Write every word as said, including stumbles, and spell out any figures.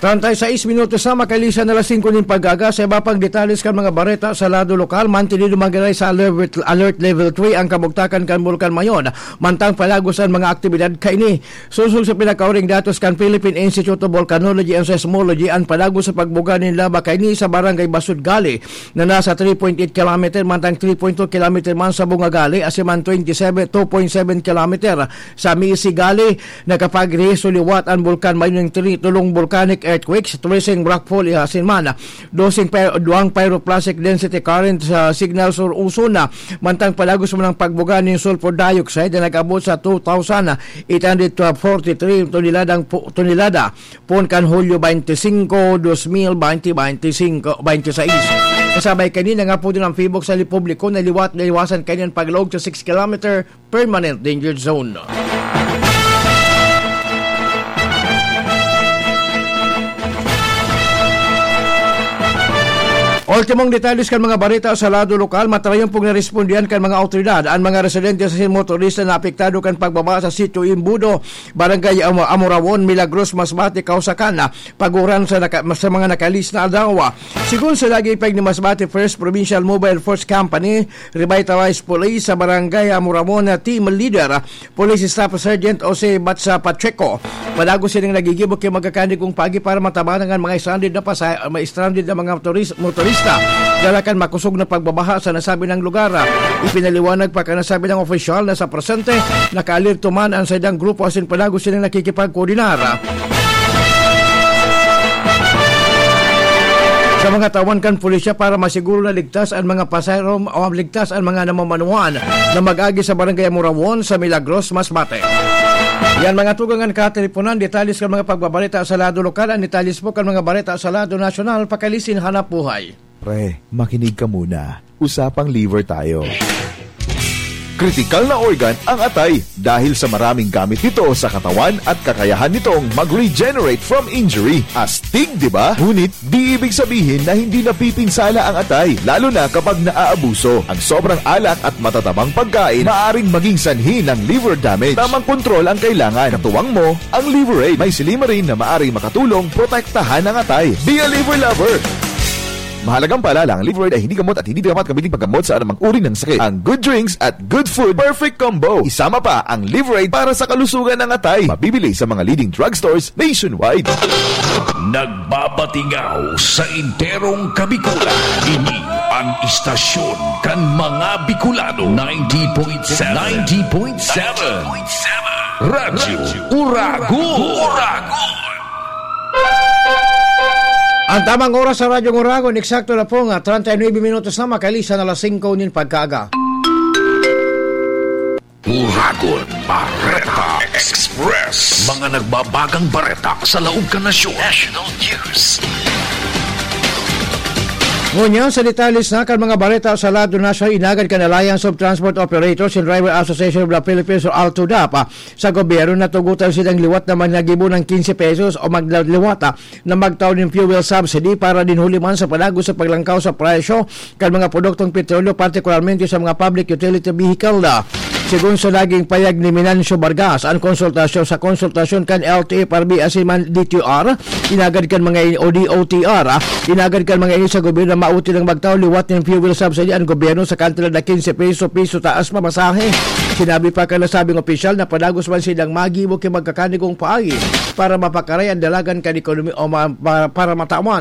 Treinta y seis minutos na, makalisan na alas singko nin pag-aga. Sa iba pang detalles kan mga bareta sa lado lokal, mantenido man giraray sa alert, alert level three ang kabugtakan kan Bulkan Mayon, mantang palagos an mga aktibidad kaini. Sosog sa pinakauring datos kan Philippine Institute of Volcanology and Seismology, an palagos sa pagbuga nin laba kaini sa Barangay Basud Gali na nasa three point eight kilometer, mantang three point two kilometer man sa Bunga Gali, asin man twenty-seven, two point seven kilometer sa Misi Gali. Nakapagrehiso liwat an Bulkan Mayon nin tri-, tulong volcanic earthquakes, tracing rockfall, asin man doseng py-, duwang pyroclastic density current sa signal sa uso na, mantang palagos man ang pagbuga nin sulfur dioxide na nag-abot sa two thousand eight hundred forty-three toneladang pu-, tonelada poon kan Hulyo twenty-five, twenty twenty-five, twenty-six. Kasabay kanina nga po din ang Phibok sa Republiko na liwat na iwasan kaini an paglaog sa six kilometer permanent danger zone. Ultimong detalles kan mga bareta sa lado lokal, matarayon pong narespondihan kan mga awtoridad an mga residente sa motorista na apektado kan pagbabaha sa Sitio Imbudo, Barangay Amo-, Amoraon, Milagros, Masbate, Causacan, Paguran sa naka-, sa mga nakalis na aldaw. Sigon sa naging pahayag ni Masbate First Provincial Mobile Force Company, Revitalized Police sa Barangay Amoraon na Team Leader, Police Staff Sergeant Jose Batsa Pacheco, padagos sining nagigibo ki magkakanigong paagi para matabangan ang mga stranded na pasa-, may stranded na mga motoris-, motorista dala kan makosog na pagbabaha sa nasabing lugar. Ipinaliwanag pa kan nasabing opisyal na sa presente, nakaalerto man ang saindang grupo asin padagos sining nakikipagkoordinar sa mga tawan kan pulisya para masiguro na ligtas an mga pasahero o ligtas an mga namamanuhan na mag-agi sa Barangay Amoraon sa Milagros, Masbate. Yan, mga tugang, an kateleponan, detalles kan mga pagbabalita sa lado lokal, an detalles po kan mga balita sa lado nasyonal, pakalisin hanap buhay. Pre, makinig ka muna. Usapang liver tayo. Kritikal na organ ang atay dahil sa maraming gamit nito sa katawan at kakayahan nitong mag-regenerate from injury. Astig, di ba? Ngunit di ibig sabihin na hindi napipinsala ang atay, lalo na kapag naaabuso. Ang sobrang alak at matatabang pagkain maaring maging sanhi ng liver damage. Tamang kontrol ang kailangan. Katuwang mo ang Liver Aid. May silymarin na maaring makatulong protektahan ang atay. Be a liver lover! Mahalagang paalala, ang Liver Aid ay hindi gamot at hindi dapat gamitin paggamot sa anumang uri ng sakit. Ang good drinks at good food, perfect combo. Isama pa ang Liver Aid para sa kalusugan ng atay. Mabibili sa mga leading drugstores nationwide. Nagbabatingaw sa enterong Kabikulan. Ini ang istasyon kan mga Bicolano. Ninety point seven. Ninety point seven. Radyo Uragon. Ang tamang oras sa Radyo Uragon, eksakto na po nga treinta y nueve minutos na, makalisan na alas singko nin pagkaaga. Uragon Bareta Express. Mga nagbabagang bareta sa laog kan nasyon. National News. Ngunyan, sa detalles na kan mga bareta sa lado nasyonal, inagad kan Alliance of Transport Operators and Driver Association of the Philippines o ALTODAP, ah, sa gobyerno, natugotan silang liwat na magnagibo ng quince pesos o magliwat, ah, na magtao nin fuel subsidy para din huli man sa panago sa paglangkaw sa presyo kan mga produktong petrolyo, partikularmente sa mga public utility vehicle na. Sigon sa naging payag ni Minancio Vargas, ang konsultasyon sa konsultasyon kan L T F R B asin man D T R, inagad kan mga in-, o D O T R, ah, inagad kan mga ini sa gobyerno na mauti nang magtao liwat nin fuel subsidy ang gobyerno sa kantidad na quince peso, piso taas pamasahe. Sinabi pa kan nasabing opisyal na padagos man silang magibo ki magkakanigong paagi para mapakaray ang dalagan kan ekonomi-, o ma-, pa-, para matawan